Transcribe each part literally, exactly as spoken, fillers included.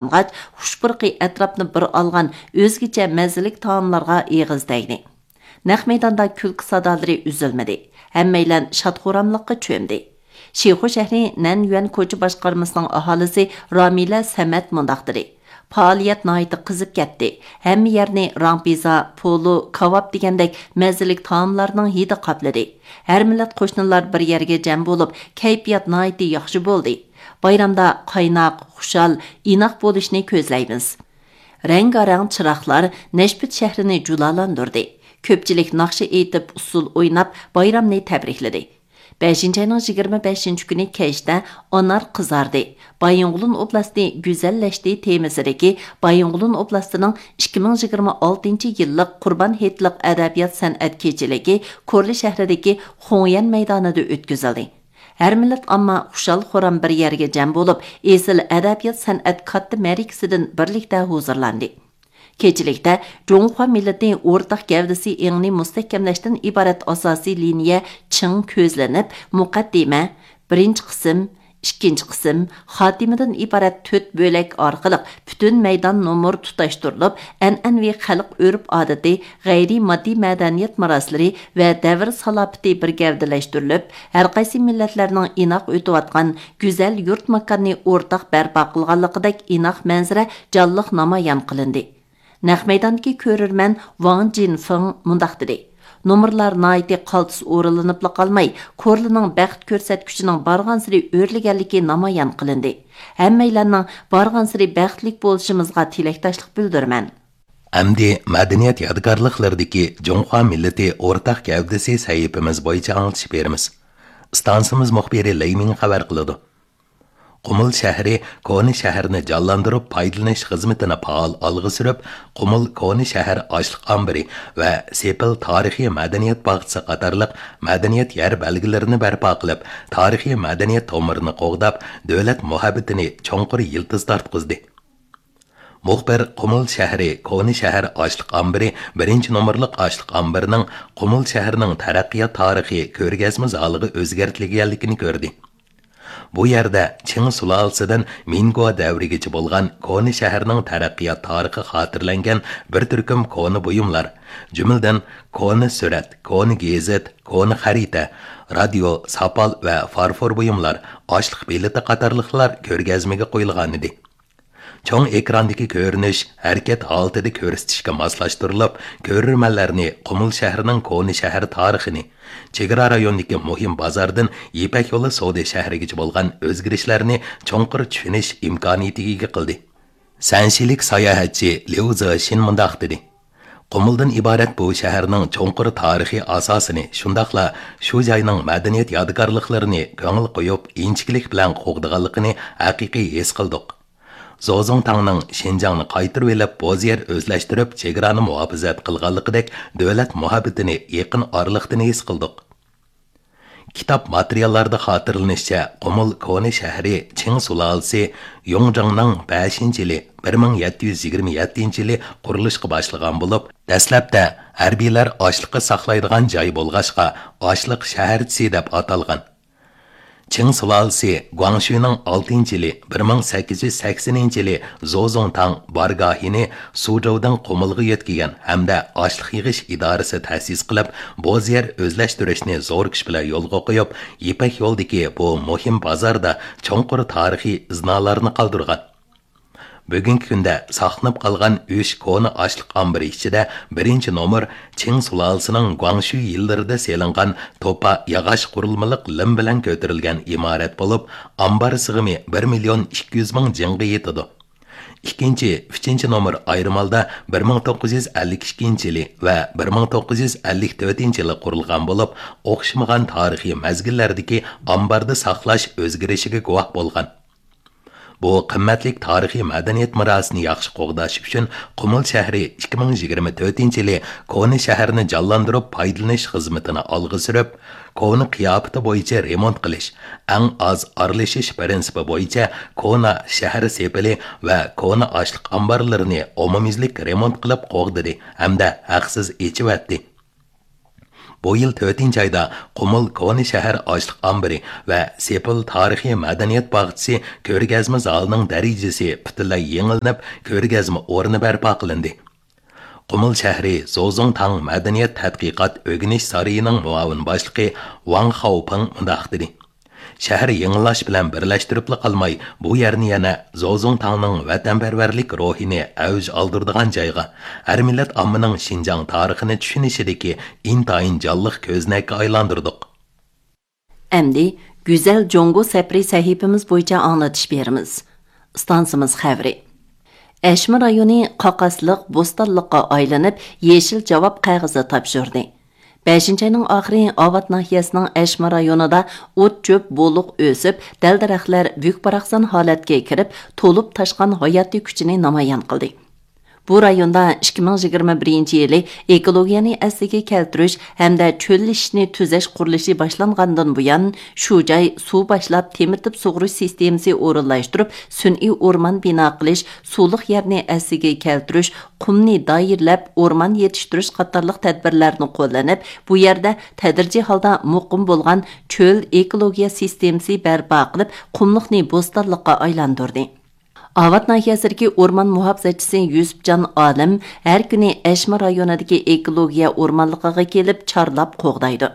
قىلىنغاچ، خۇش پۇرىقى ئەتراپنى بىر ئالغان ئۆزگىچە مەززىلىك تائاملارغا ئېغىز تەگدى. نەق مەيداندا كۈلكە سادالىرى ئۈزۈلمىدى. ھەممەيلەن شاد-خۇراملىققا چۆمدى. شىخۇ شەھىرى نەنيۈەن كوچا باشقارمىسىنىڭ ئاھالىسى رامىلە سەمەت مۇنداق دېدى: پائالىيەت ناھايىتى قىزىپ كەتتى. ھەممە يەرنى راڭ پىززا، پولۇ، كاۋاپ دېگەندەك مەززىلىك تائاملارنىڭ ھىدى قاپلىدى. ھەر مىللەت قوشنىلار بىر يەرگە جەم بولۇپ، كەيپىيات ناھايىتى ياخشى بولدى. بايرامدا قايناق، خۇشال، ئىناق بولۇشنى كۆزلەيمىز. رەڭگارەڭ چىراغلار نەشپۈت شەھىرىنى جۇلالاندۇردى. كۆپچىلىك ناخشا ئېيتىپ، ئۇسسۇل ئويناپ، بايرامنى تەبرىكلىدى. بەشىنچى ئاينىڭ يىگىرمە بەشىنچى كۈنى كەچتە ئانار قىزاردى، بايىنغولىن ئوبلاستى گۈزەللەشتى تېمىسىدىكى بايىنغولىن ئوبلاستىنىڭ ئىككى مىڭ يىگىرمە ئالتىنچى يىللىق قۇربان ھېيتلىق ئەدەبىيات سەنئەت كېچىلىكى كورلا شەھىرىدىكى خۇڭيەن مەيدانىدا ئۆتكۈزۈلدى. ھەر مىللەت ئامما خۇشال-خۇرام بىر يەرگە جەم بولۇپ، ئېسىل ئەدەبىيات-سەنئەت كاتتا مەرىكىسىدىن بىرلىكتە ھۇزۇرلاندى. كېچىلىكتە جۇڭخۇا مىللىتى ئورتاق گەۋدىسى ئېڭىنى مۇستەھكەملەشتىن ئىبارەت ئاساسىي لىنىيە چىڭ كۆزلىنىپ، مۇقەددىمە، بىرىنچى قىسىم، ئىككىنچى قىسىم، خاتىمىدىن ئىبارەت تۆت بۆلەك ئارقىلىق پۈتۈن مەيدان نومۇر تۇتاشتۇرۇلۇپ، ئەنئەنىۋى خەلق ئۆرپ-ئادىتى، غەيرىي ماددىي مەدەنىيەت مىراسلىرى ۋە دەۋر سالاپىتى بىر گەۋدىلەشتۈرۈلۈپ، ھەرقايسى مىللەتلەرنىڭ ئىناق ئۆتۈۋاتقان گۈزەل يۇرت-ماكاننى ئورتاق بەرپا قىلغانلىقىدەك ئىناق مەنزىرە جانلىق نامايان قىلىندى. نەق مەيداندىكى كۆرۈرمەن ۋاڭ جىنفېڭ مۇنداق دېدى: نومۇرلار ناھايىتى قالتىس ئورۇنلىنىپلا قالماي، كورلىنىڭ بەخت كۆرسەتكۈچىنىڭ بارغانسېرى ئۆرلىگەنلىكى نامايان قىلىندى. ھەممەيلەننىڭ بارغانسېرى بەختلىك بولۇشىمىزغا تىلەكداشلىق بىلدۈرىمەن. ئەمدى مەدەنىيەت يادىكارلىقلىرىدىكى جۇڭخۇا مىللىتى ئورتاق گەۋدىسى سەھىپىمىز بويىچە ئاڭلىتىش بېرىمىز. ئىستانسىمىز مۇخبىرى لېي مىڭ خەۋەر قىلىدۇ. قۇمۇل شەھىرى كونا شەھەرنى جانلاندۇرۇپ پايدىلىنىش خىزمىتىنى پائال ئالغا سۈرۈپ، قۇمۇل كونا شەھەر ئاشلىق ئامبىرى ۋە سېپىل تارىخىي مەدەنىيەت باغچىسى قاتارلىق مەدەنىيەت يەر بەلگىلىرىنى بەرپا قىلىپ، تارىخىي مەدەنىيەت تومۇرىنى قوغداپ، دۆلەت مۇھەببىتىنى چوڭقۇر يىلتىز تارتقۇزدى. مۇخبىر قۇمۇل شەھىرى كونا شەھەر ئاشلىق ئامبىرى بىرىنچى نومۇرلۇق ئاشلىق ئامبىرىنىڭ قۇمۇل شەھىرىنىڭ تەرەققىيات تارىخى كۆرگەزمە زالىغا ئۆزگەرتىلگەنلىكىنى كۆردى. بۇ يەردە چىڭ سۇلالىسىدىن مىنگو دەۋرىگىچە بولغان كونا شەھەرنىڭ تەرەققىيات تارىخى خاتىرىلەنگەن بىر تۈركۈم كونا بۇيۇملار، جۈملىدىن كونا سۈرەت، كونا گېزىت، كونا خەرىتە، رادىيو، ساپال ۋە فارفور بۇيۇملار، ئاشلىق بېلىتى قاتارلىقلار كۆرگەزمىگە قويۇلغانىدى. چوڭ ئېكراندىكى كۆرۈنۈش ھەرىكەت ھالىتىدە كۆرسىتىشكە ماسلاشتۇرۇلۇپ، كۆرۈرمەنلەرنى قۇمۇل شەھىرىنىڭ كونا شەھەر تارىخىنى، چېگرا رايونىدىكى مۇھىم بازاردىن يىپەك يولى سودا شەھىرىگىچە بولغان ئۆزگىرىشلەرنى چوڭقۇر چۈشىنىش ئىمكانىيىتىگە ئىگە قىلدى. سەنشىلىك ساياھەتچى ليۇ زېشىن مۇنداق دېدى: قۇمۇلدىن ئىبارەت بۇ شەھەرنىڭ چوڭقۇر تارىخىي ئاساسىنى، شۇنداقلا شۇ جاينىڭ مەدەنىيەت يادىكارلىقلىرىنى كۆڭۈل قويۇپ، ئىنچىكىلىك بىلەن قوغدىغانلىقىنى ھەقىقىي ھېس قىلدۇق. زوزۇڭتاڭنىڭ شىنجاڭنى قايتۇرۇۋېلىپ، بوزيەر ئۆزلەشتۈرۈپ، چېگرانى مۇھاپىزەت قىلغانلىقىدەك دۆلەت مۇھەببىتىنى يېقىن ئارىلىقتىن ھېس قىلدۇق. كىتاب ماتېرىياللاردا خاتىرىلىنىشىچە، قۇمۇل كونا شەھىرى چىڭ سۇلالىسى يۇڭجېڭنىڭ بەشىنچى يىلى، بىر مىڭ يەتتە يۈز يىگىرمە يەتتىنچى يىلى قۇرۇلۇشقا باشلىغان بولۇپ، دەسلەپتە ھەربىيلەر ئاشلىقى ساقلايدىغان جاي بولغاچقا، ئاشلىق شەھەرچىسى دەپ ئاتالغان. چىڭ سۇلالىسى گۇاڭشۈنىڭ ئالتىنچى يىلى، بىر مىڭ سەككىز يۈز سەكسىنىنچى يىلى زوزۇڭتاڭ بارگاھىنى سۇجوۋدىن قۇمۇلغا يۆتكىگەن ھەمدە ئاشلىق يىغىش ئىدارىسى تەسىس قىلىپ، بوزيەر ئۆزلەشتۈرۈشنى زور كۈچ بىلەن يولغا قويۇپ، يىپەك يولىدىكى بۇ مۇھىم بازاردا چوڭقۇر تارىخىي ئىزنالارنى قالدۇرغان. بۈگۈنكى كۈندە ساقلىنىپ قالغان ئۈچ كونا ئاشلىق ئامبىرى ئىچىدە بىرىنچى نومۇر چىڭ سۇلالىسىنىڭ گۇاڭشۈ يىللىرىدا سېلىنغان توپا ياغاچ قۇرۇلمىلىق لىم بىلەن كۆتۈرۈلگەن ئىمارەت بولۇپ، ئامبار سىغىمى بىر مىليون ئىككى يۈز مىڭ جىڭغا يېتىدۇ. ئىككىنچى، ئۈچىنچى نومۇر ئايرىم ھالدا بىر مىڭ توققۇز يۈز ئەللىك ئىككىنچى يىلى ۋە بىر مىڭ توققۇز يۈز ئەللىك تۆتىنچى يىلى قۇرۇلغان بولۇپ، ئوخشىمىغان تارىخىي مەزگىللەردىكى ئامباردا ساقلاش ئۆزگىرىشىگە گۇۋاھ بولغان. بۇ قىممەتلىك تارىخىي مەدەنىيەت مىراسىنى ياخشى قوغداش ئۈچۈن، قۇمۇل شەھىرى ئىككى مىڭ يىگىرمە تۆتىنچى يىلى كونا شەھەرنى جانلاندۇرۇپ پايدىلىنىش خىزمىتىنى ئالغا سۈرۈپ، كونا قىياپىتى بويىچە رېمونت قىلىش، ئەڭ ئاز ئارىلىشىش پىرىنسىپى بويىچە كونا شەھەر سېپىلى ۋە كونا ئاشلىق ئامبارلىرىنى ئومۇميۈزلۈك رېمونت قىلىپ قوغدىدى ھەمدە ھەقسىز ئېچىۋەتتى. بۇ يىل تۆتىنچى ئايدا قۇمۇل كونا شەھەر ئاشلىق ئامبىرى ۋە سېپىل تارىخىي مەدەنىيەت باغچىسى كۆرگەزمە زالىنىڭ دەرىجىسى پۈتۈنلەي يېڭىلىنىپ، كۆرگەزمە ئورنى بەرپا قىلىندى. قۇمۇل شەھىرى زوزۇڭتاڭ مەدەنىيەت تەتقىقات ئۆگىنىش سارىيىنىڭ مۇئاۋىن باشلىقى ۋاڭ خاۋپىڭ مۇنداق دېدى: شەھەر يېڭىلاش بىلەن بىرلەشتۈرۈپلا قالماي، بۇ يەرنى يەنە زوزۇڭتاڭنىڭ ۋەتەنپەرۋەرلىك روھىنى ئەۋج ئالدۇرىدىغان جايغا، ھەر مىللەت ئاممىنىڭ شىنجاڭ تارىخىنى چۈشىنىشىدىكى ئىنتايىن جانلىق كۆزنەككە ئايلاندۇردۇق. ئەمدى گۈزەل جۇڭگو سەپىرى سەھىپىمىز بويىچە ئاڭلىتىش بېرىمىز. ئىستانسىمىز خەۋىرى. ئەشمە رايونى قاقاسلىق، بوستانلىققا ئايلىنىپ، يېشىل جاۋاب قەغىزى تاپشۇردى. بەشىنچى ئاينىڭ ئاخىرى ئاۋات ناھىيەسىنىڭ ئەشمە رايونىدا ئوت-چۆپ بولۇق ئۆسۈپ، دەل-دەرەخلەر بۈك-باراقسان ھالەتكە كىرىپ، تولۇپ تاشقان ھاياتىي كۈچىنى نامايان قىلدى. بۇ رايوندا ئىككى مىڭ يىگىرمە بىرىنچى يىلى ئېكولوگىيەنى ئەسلىگە كەلتۈرۈش ھەمدە چۆللىشىشنى تۈزەش قۇرۇلۇشى باشلانغاندىن بۇيان، شۇ جاي سۇ باشلاپ تېمىتىپ سۇغىرىش سىستېمىسى ئورۇنلاشتۇرۇپ، سۈنئىي ئورمان بىنا قىلىش، سۇلۇق يەرنى ئەسلىگە كەلتۈرۈش، قۇمنى دائىرىلەپ ئورمان يېتىشتۈرۈش قاتارلىق تەدبىرلەرنى قوللىنىپ، بۇ يەردە تەدرىجىي ھالدا مۇقىم بولغان چۆل ئېكولوگىيە سىستېمىسى بەرپا قىلىپ، قۇملۇقنى بوستانلىققا ئايلاندۇردى. ئاۋات ناھىيەسىدىكى ئورمان مۇھاپىزەتچىسى يۈسۈپجان ئالىم ھەر كۈنى ئەشمە رايونىدىكى ئېكولوگىيە ئورمانلىقىغا كېلىپ چارلاپ قوغدايدۇ.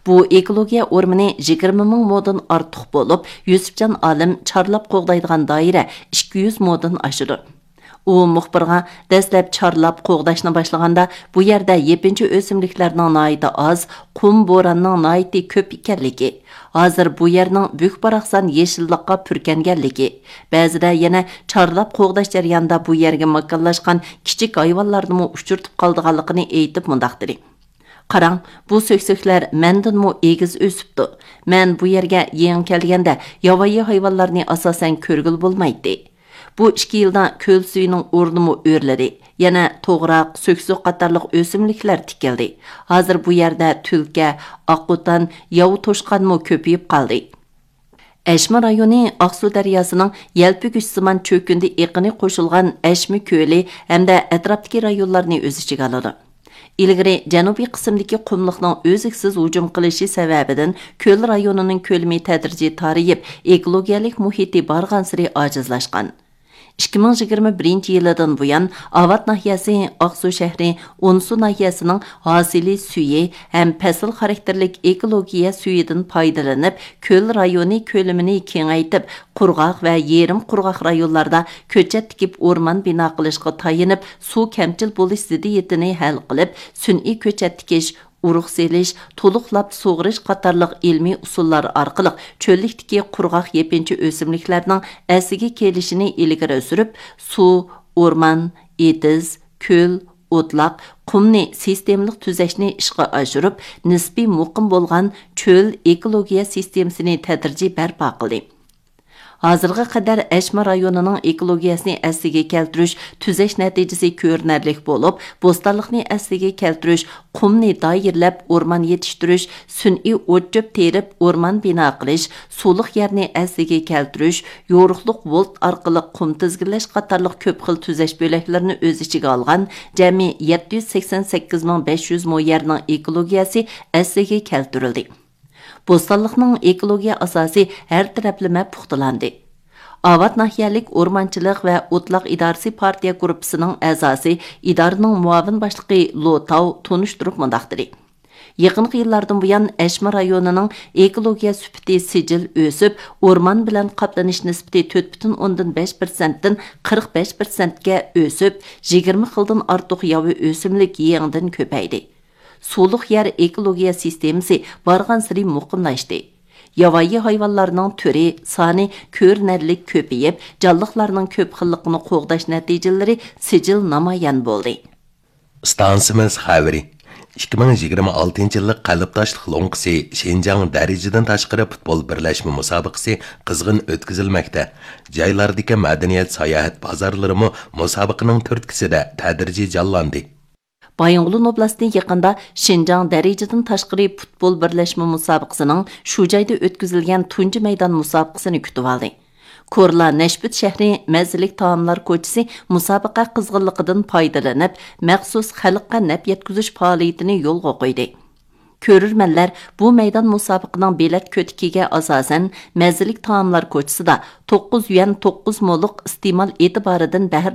بۇ ئېكولوگىيە ئورمىنى يىگىرمە مىڭ مودىن ئارتۇق بولۇپ، يۈسۈپجان ئالىم چارلاپ قوغدايدىغان دائىرە ئىككى يۈز مودىن ئاشىدۇ. ئۇ مۇخبىرغا دەسلەپ چارلاپ قوغداشنى باشلىغاندا، بۇ يەردە يېپىنچا ئۆسۈملۈكلەرنىڭ ناھايىتى ئاز، قۇم بوراننىڭ ناھايىتى كۆپ ئىكەنلىكى، ھازىر بۇ يەرنىڭ بۈك-باراقسان يېشىللىققا پۈركەنگەنلىكى، بەزىدە يەنە چارلاپ قوغداش جەريانىدا بۇ يەرگە ماكانلاشقان كىچىك ھايۋانلارنىمۇ ئۇچرىتىپ قالىدىغانلىقىنى ئېيتىپ مۇنداق دېدى: «قاراڭ، بۇ سۆكسۆكلەر مەندىنمۇ ئېگىز ئۆسۈپتۇ. مەن بۇ يەرگە يېڭى كەلگەندە ياۋايى ھايۋانلارنى ئاساسەن كۆرگىلى بولمايتتى. بۇ ئىككى يىلدا كۆل سۈيىنىڭ ئورنىمۇ ئۆرلىدى. يەنە توغراق، سۆكسۆك قاتارلىق ئۆسۈملۈكلەر تىكىلدى. ھازىر بۇ يەردە تۈلكە، ئاققوتان، ياۋا توشقانمۇ كۆپىيىپ قالدى.» ئەشمە رايونى ئاقسۇ دەرياسىنىڭ يەلپۈگۈچسىمان چۆكۈندە ئېقىنى قوشۇلغان ئەشمە كۆلى ھەمدە ئەتراپتىكى رايونلارنى ئۆز ئىچىگە ئالىدۇ. ئىلگىرى جەنۇبىي قىسىمدىكى قۇملۇقنىڭ ئۈزلۈكسىز ھۇجۇم قىلىشى سەۋەبىدىن كۆل رايونىنىڭ كۆلىمى تەدرىجىي تارىيىپ، ئېكولوگىيەلىك مۇھىتى بارغانسېرى ئاجىزلاشقان. ئىككى مىڭ يىگىرمە بىرىنچى يىلىدىن بۇيان، ئاۋات ناھىيەسى ئاقسۇ شەھىرى ئونسۇ ناھىيەسىنىڭ ھاسىلى سۈيى ھەم پەسىل خاراكتېرلىك ئېكولوگىيە سۈيىدىن پايدىلىنىپ، كۆل رايونى كۆلىمىنى كېڭەيتىپ، قۇرغاق ۋە يېرىم قۇرغاق رايونلاردا كۆچەت تىكىپ ئورمان بىنا قىلىشقا تايىنىپ، سۇ كەمچىل بولۇش زىددىيىتىنى ھەل قىلىپ، سۈنئىي كۆچەت تىكىش، ئۇرۇق سېلىش، تولۇقلاپ سۇغىرىش قاتارلىق ئىلمىي ئۇسۇللار ئارقىلىق چۆللۈكتىكى قۇرغاق يېپىنچا ئۆسۈملۈكلەرنىڭ ئەسلىگە كېلىشىنى ئىلگىرى سۈرۈپ، سۇ، ئورمان، ئېتىز، كۆل، ئوتلاق، قۇمنى سىستېمىلىق تۈزەشنى ئىشقا ئاشۇرۇپ، نىسپىي مۇقىم بولغان چۆل ئېكولوگىيە سىستېمىسىنى تەدرىجىي بەرپا قىلدى. ھازىرغا قەدەر ئەشمە رايونىنىڭ ئېكولوگىيەسىنى ئەسلىگە كەلتۈرۈش، تۈزەش نەتىجىسى كۆرۈنەرلىك بولۇپ، بوستانلىقنى ئەسلىگە كەلتۈرۈش، قۇمنى دائىرىلەپ ئورمان يېتىشتۈرۈش، سۈنئىي ئوت-چۆپ تېرىپ ئورمان بىنا قىلىش، سۇلۇق يەرنى ئەسلىگە كەلتۈرۈش، يورۇقلۇق ۋولت ئارقىلىق قۇم تىزگىنلەش قاتارلىق كۆپ خىل تۈزەش بۆلەكلىرىنى ئۆز ئىچىگە ئالغان جەمئىي يەتتە يۈز سەكسەن سەككىز مىڭ بەش يۈز مو يەرنىڭ ئېكولوگىيەسى ئەسلىگە كەلتۈرۈلدى. بوستانلىقنىڭ ئېكولوگىيە ئاساسى ھەر تەرەپلىمە پۇختىلاندى. ئاۋات ناھىيەلىك ئورمانچىلىق ۋە ئوتلاق ئىدارىسى پارتىيە گۇرۇپپىسىنىڭ ئەزاسى، ئىدارىنىڭ مۇئاۋىن باشلىقى لو تاۋ تونۇشتۇرۇپ مۇنداق دېدى: يېقىنقى يىللاردىن بۇيان، ئەشمە رايونىنىڭ ئېكولوگىيە سۈپىتى سىجىل ئۆسۈپ، ئورمان بىلەن قاپلىنىش نىسبىتى تۆت پۈتۈن ئوندىن بەش پىرسەنتتىن قىرىق بەش پىرسەنتكە ئۆسۈپ، يىگىرمە خىلدىن ئارتۇق ياۋا ئۆسۈملۈك يېڭىدىن كۆپەيدى. سۇلۇق يەر ئېكولوگىيە سىستېمىسى بارغانسېرى مۇقىملاشتى. ياۋايى ھايۋانلارنىڭ تۈرى، سانى كۆرۈنەرلىك كۆپىيىپ، جانلىقلارنىڭ كۆپ خىللىقىنى قوغداش نەتىجىلىرى سىجىل نامايان بولدى. ئىستانسىمىز خەۋىرى. ئىككى مىڭ يىگىرمە ئالتىنچى يىللىق قەلبداشلىق لوڭقىسى شىنجاڭ دەرىجىدىن تاشقىرى پۇتبول بىرلەشمە مۇسابىقىسى قىزغىن ئۆتكۈزۈلمەكتە. جايلاردىكى مەدەنىيەت ساياھەت بازارلىرىمۇ مۇسابىقىنىڭ تۈرتكىسىدە تەدرىجىي جانلاندى. بايىنغولىن ئوبلاستى يېقىندا شىنجاڭ دەرىجىدىن تاشقىرى پۇتبول بىرلەشمە مۇسابىقىسىنىڭ شۇ جايدا ئۆتكۈزۈلگەن تۇنجى مەيدان مۇسابىقىسىنى كۈتۈۋالدى. كورلا نەشپۈت شەھىرى مەززىلىك تائاملار كوچىسى مۇسابىقە قىزغىنلىقىدىن پايدىلىنىپ، مەخسۇس خەلققە نەپ يەتكۈزۈش پائالىيىتىنى يولغا قويدى. كۆرۈرمەنلەر بۇ مەيدان مۇسابىقىنىڭ بېلەت كۆتىكىگە ئاساسەن، مەززىلىك تائاملار كوچىسىدا توققۇز يۈەن توققۇز مولۇق ئىستېمال ئېتىبارىدىن بەھرىلىنىپ،